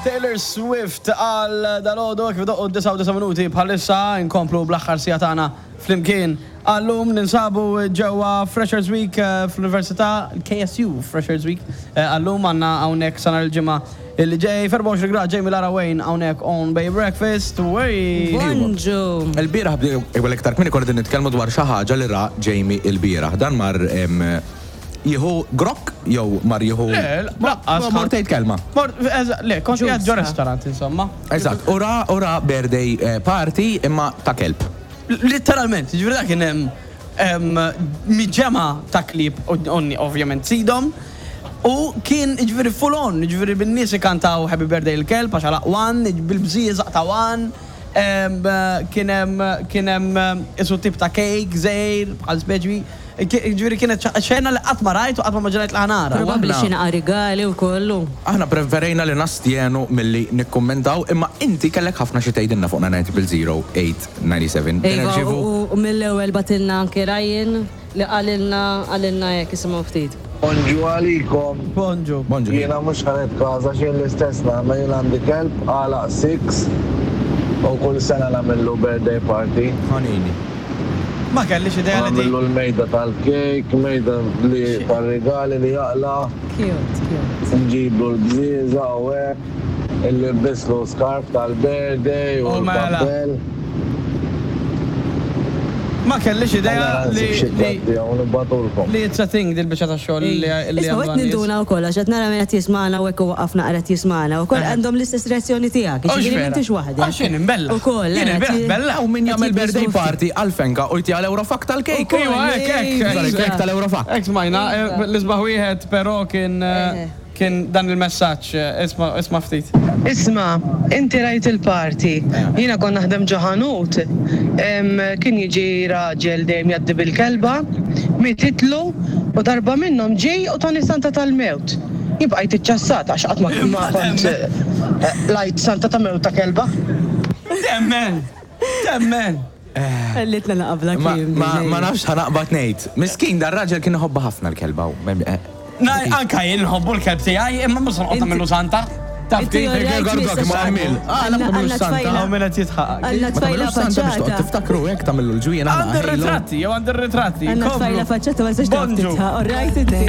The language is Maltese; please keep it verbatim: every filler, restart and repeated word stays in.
Taylor Swift għal dalgħodu, kif doqqu disgħa u minuti bħalissa, inkomplu bl-aħħar siegħa tagħna flimkien. Għallum ninsabu ġewwa Freshers Week eh, fl-Università, K S U Freshers Week. Eh, Għallum għandna hawnhekk sa nhar il-Ġimgħa illi ġej, erbgħa u għoxrin grad. Jamie, Lara, Wayne hawnhekk on Bay Breakfast. Wey! Bonġu. Il-bieraħ bdew iktar kmieni, konna nitkellmu dwar xi ħaġa li ra Jamie il-bieraħ. Dan mar em, jieħu grok jew mar jieħu. Le, lanqas. Ma mort tgħid kelma. Mort, eża- le, kont qiegħed ġo Ġusta. restaurant, insomma. Eżatt, u ra u ra birthday eh, party imma ta' kelb. Literalment, ġifieri dak kien hemm em, miġemgħa ta' klieb, onni ovvjament sidhom. U kien ġifieri full on, ġifieri bin-nies ikantaw "Happy Birthday" il-kelb, għax għalaq one, bil-bżieżaq ta' one, em, kien hemm kien hemm isu tip ta' cake, żgħir, bħal speċi. Ġifieri kienet xena li qatt ma rajt u qatt ma immaġinajt li ħa nara. Probabbli aħna- xi naqa rigali u kollu. Aħna preferejna li nastjenu milli nikkommentaw, imma inti kellek ħafna xi tgħidilna fuq nine zero eight nine seven. Iva, u u mill-ewwel bagħtilna anke Ryan li qalilna qalilna hekk, isimgħu ftit. Bonġu għalikom. Bonġu. Bonġu. Jiena mhux ħa nitkaża xejn, l-istess nagħmel. Jien għandi kelb għalaq sitta u kull sena nagħmillu birthday party. Ħanini. Ma kellix idea li di. Nagħmillu l-mejda tal-kejk, mejda li tal-rigali li jaqla, Cute, cute. nġiblu l-bżieżaq u hekk, nlibbislu scarf tal-birthday u U mela. l-kappell. Ma kellix idea li li li li it's a thing dil-biċċa ta' xogħol li li Isma' għandu qed għan-nies. ninduna wkoll għax qed nara min qed jismagħna u hekk u waqafna qed jismagħna wkoll għandhom l-istess reazzjoni tiegħek. Oh, Ġifieri x'vera. m'intix waħdek. Għax jien imbella. Ukoll. Jien eh, il-bieraħ qed- bella. U min qed jagħmel birthday jitbismu party għal-fenka u jtiha l-Eurofak tal-kejk. Ukoll. Iwa, hekk, hekk, Sorry, hekk. kejk tal-Eurofak. Hekk smajna, eh, l-isbaħ wieħed però kien eh, Eh. kien dan il-messaġġ, eh, isma' isma' ftit. Isma, inti rajt il-party. Jiena kon naħdem ġo ħanut. Em, Kien jiġi raġel dejjem jgħaddi bil-kelba, mititlu u darba minnhom ġej u tani santa tal-mewt. Jien bqajt iċċassat għax qatt ma ma kont eh, lajt santa ta' mewt ta' kelba. Temmen! Temmen! Ħallitna naqabla Ma, kliem. ma, ma nafx ħa naqbad ngħid. Miskin, dar raġel kien iħobba ħafna l-kelba. u- eh, Na, anka jien nħobbu l-kelb tiegħi, imma mhux noqgħod nagħmlu santa. Taf Inti kif? all right, Gordok, Mister ma għamil. Ah, la Għanna- tagħmlu għanna santa. tfajla. Hawn min qed jitħaq. Għandna Ma tfajla tagħmilux santa biex toqgħod faċċata. tiftakru hekk tagħmlu l-ġwien. Għandi r-ritratti, jew għandi r-ritratti. Għandna Komplu. tfajla faċċata, ma tistax Bonġu. titħaq. All right, inti.